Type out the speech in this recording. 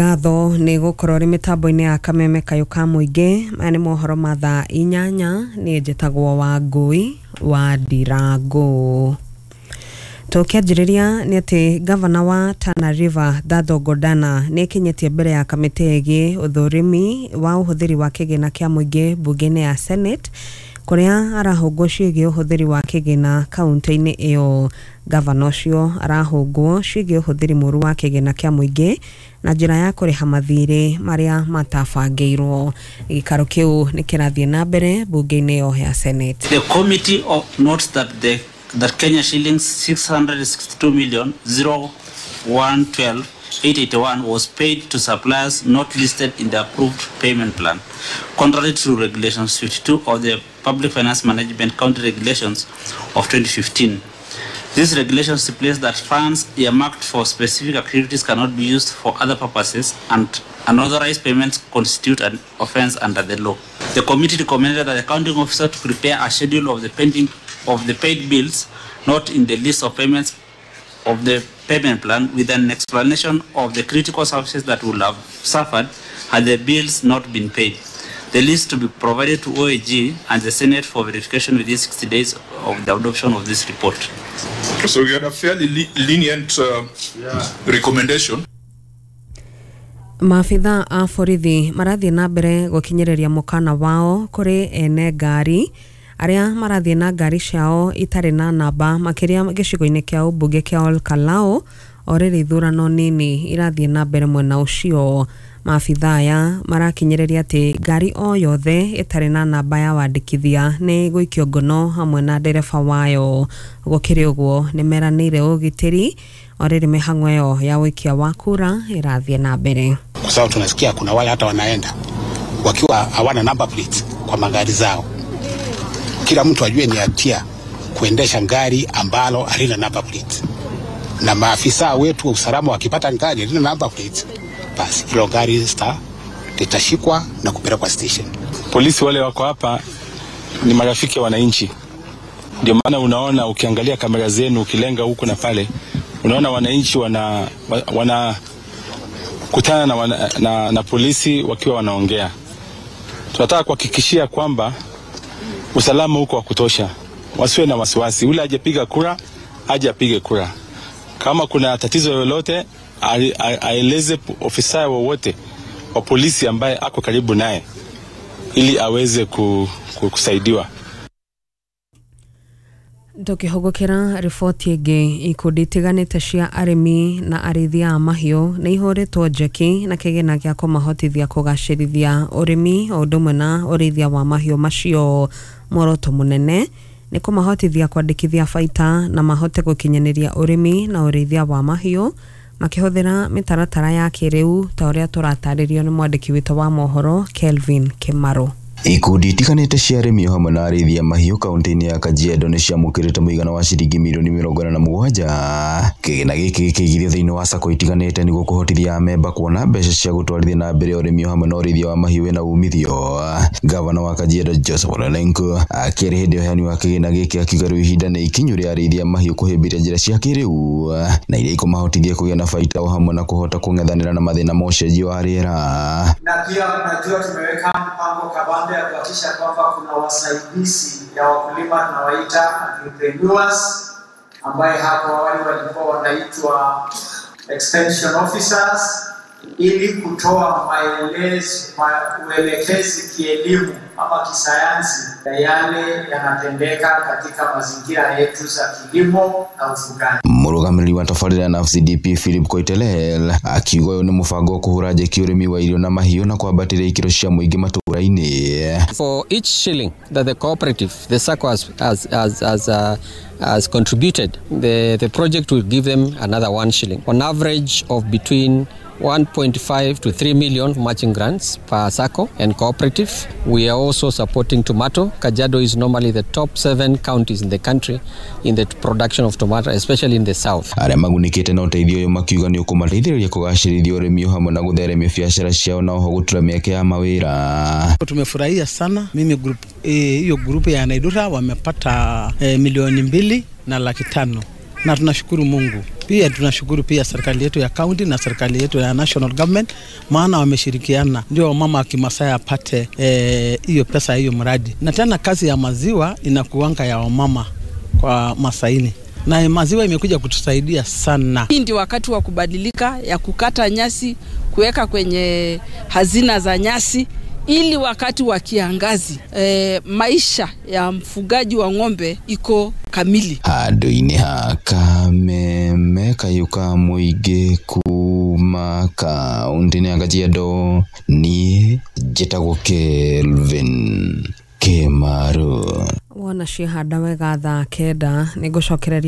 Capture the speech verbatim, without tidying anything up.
Ngatho nĩ gũkorwo rĩ mĩtambo-inĩ ya Kameme Kayũ ka Mũingĩ. Maya nĩ mohoro ma thaa inyanya. Niĩ njĩtagwo Wangũi wa Ndirango. Tũkĩanjĩrĩria nĩ atĩ gavana wa Tana River Thatho Godana nĩ ĩkinyĩtie mbere ya kamĩtĩ ĩgiĩ ũthũrimi wa ũhũthĩri wa kĩgĩna kĩa mũingĩ mbunge-inĩ ya Senate, kũrĩa arahũngwo ciĩgiĩ ũhũthĩri wa kĩgĩna kaunti-inĩ ĩyo. Gavana ũcio arahũngwo ciĩgiĩ ũhũthĩri mũru wa kĩgĩna kĩa mũingĩ na njĩra ya kũrĩha mathirĩ marĩa matabangĩirwo. Gĩikaro kĩu nĩ kĩrathiĩ na mbere mbunge-inĩ ĩyo ya Senate. The committee notes that the that Kenya shillings six hundred sixty-two million zero one twelve eight eighty-one was paid to suppliers not listed in the approved payment plan, contrary to Regulations fifty-two of the Public Finance Management County Regulations of twenty fifteen. These regulations stipulate that funds earmarked for specific activities cannot be used for other purposes, and unauthorized payments constitute an offense under the law. The committee recommended that the accounting officer to prepare a schedule of the pending of the paid bills not in the list of payments of the payment plan, with an explanation of the critical services that would have suffered had the bills not been paid. The list to be provided to O A G and the Senate for verification within sixty days of the adoption of this report. So we had a fairly lenient uh, yeah. recommendation. Maabitha a borithi marathiĩ na mbere gũkinyĩrĩria mũkana wao kũrĩ ene ngari arĩa marathiĩ na ngari ciao itarĩ na namba, makĩria gĩcigo-inĩ kĩa ũmbunge kĩa Olkalou, o rĩrĩ ithurano nini irathiĩ na mbere mwena ũcio. Maabitha aya marakinyĩrĩria atĩ ngari o yothe ĩtarĩ na namba ya wandĩkithia nĩ ĩgũikio ngono hamwe na ndereba wayo. Gũkĩrĩ ũguo nĩ meranĩire ũgitĩri o rĩrĩ mĩhang'o ĩyo ya ũikia wa kura ĩrathiĩ na mbere. Kwa sababu tunasikia kuna wale hata wanaenda wakiwa hawana number plate kwa magari zao. Kila mtu ajue ni hatia kuendesha gari ambalo halina number plate. Na maafisa wetu wa usalama wakipata gari halina number plate, basi hilo gari star litashikwa na kupelekwa station. Polisi wale wako hapa ni marafiki wa wananchi. Ndio maana unaona ukiangalia kamera zenu ukilenga huku na pale, unaona wananchi wana wana kutana na, wana, na, na polisi wakiwa wanaongea. Tunataka kuhakikishia kwamba usalama huko wa kutosha. Wasiwe na wasiwasi. Ule hajapiga kura, aje apige kura. Kama kuna tatizo lolote, aeleze ofisa wowote wa polisi ambaye ako karibu naye ili aweze kusaidiwa. Tukihũgũkĩra riboti ĩngĩ, ikundi itiganĩte cia arĩmi na arĩithia a mahiũ nĩ ihũrĩtwo njeki na kĩgĩna gĩa kũmahotithia kũgacĩrithia ũrĩmi o ũndũ ũmwe na ũrĩithia wa mahiũ macio. Muoroto mũnene nĩ kũmahotithia kwandĩkithia baita na mahote gũkinyanĩria ũrĩmi na ũrĩithia wa mahiũ makĩhũthĩra mĩtaratara ya kĩrĩu ta ũrĩa tũratarĩrio nĩ mwandĩki witũ wa mohoro Kelvin Kimaro. Ikundi itiganĩte cia arĩmi hamwe na arĩithia mahiũ kaunti-inĩ ya Kajiado nĩ ciamũkĩrĩte mũigana wa ciringi mirioni mĩrongo ĩna na mũgwanja. Kĩgĩna gĩkĩ gĩkĩigithio thĩinĩ wa sacco itiganĩte nĩguo kũhotithia amemba kuona mbeca cia gũtwarithia na mbere ũrĩmi hamwe na ũrĩithia wa mahiũ wĩna umithio. Gavana wa Kajiado Joseph Ole Lenku akĩaria hĩndĩ ya ũheani wa kĩgĩna gĩkĩ akiuga rĩu ihinda nĩ ikinyu rĩa arĩithia mahiũ kũhĩmbĩria njĩra cia kĩrĩu na iria ikũmahotithia kũgĩa na baita o hamwe na kũhota kũng'ethanĩra na mathĩna ma ũcenjia wa rĩera. Na pia unajua tumeweka mpango kabambe ya kuhakikisha kwamba kuna wasaidizi ya wakulima tunawaita agripreneurs, ambaye hapo awali walikuwa wanaitwa extension officers, ili kutoa maelezo, uelekezi kielimu ama kisayansi ya yale yanatendeka katika mazingira yetu za kilimo na ufugaji. Mũrũgamĩrĩri wa tabarĩra na F C D P Philip Koitelel akiuga ũyũ nĩ mũbango wa kũhũra njeki ũrĩmi wa irio na mahiũ na kwambatĩria ikĩro cia mũingĩ matũũra-inĩ. For each shilling that the cooperative, the SACCO has, has, has, has, uh, has contributed, the, the project will give them another one shilling. On average of between one point five to three million matching grants per SACCO and cooperative. We are also supporting tomato. Kajiado is normally the top seven counties in the country in the production of tomato, especially in the south. Arĩa magunĩkĩte na ũteithio ũyũ makiuga nĩ ũkũmateithĩrĩria kũgacĩrithia ũrĩmi hamwe na gũtheremia biacara ciao na oho gũtura mĩeke ya mawĩra. Tumefurahia sana. Mimi group hiyo eh, group ya Naidura wamepata eh, milioni mbili na laki tano na tunashukuru Mungu. Pia tunashukuru pia serikali yetu ya county na serikali yetu ya national government, maana wameshirikiana ndio mama wa Kimasai apate hiyo eh, pesa hiyo mradi. Na tena kazi ya maziwa inakuanga ya wamama kwa Masaini, na maziwa imekuja kutusaidia sana. Hii ndio wakati wa kubadilika, ya kukata nyasi kuweka kwenye hazina za nyasi, ili wakati wa kiangazi e, maisha ya mfugaji wa ng'ombe iko kamili. Handu-inĩ ha Kameme kayũ ka mũingĩ kuma kaunti-inĩ ya Kajiado, niĩ njĩtagwo Kelvin Kimaru. Wona ciehanda wega thaa kenda nĩ ngũcokereria.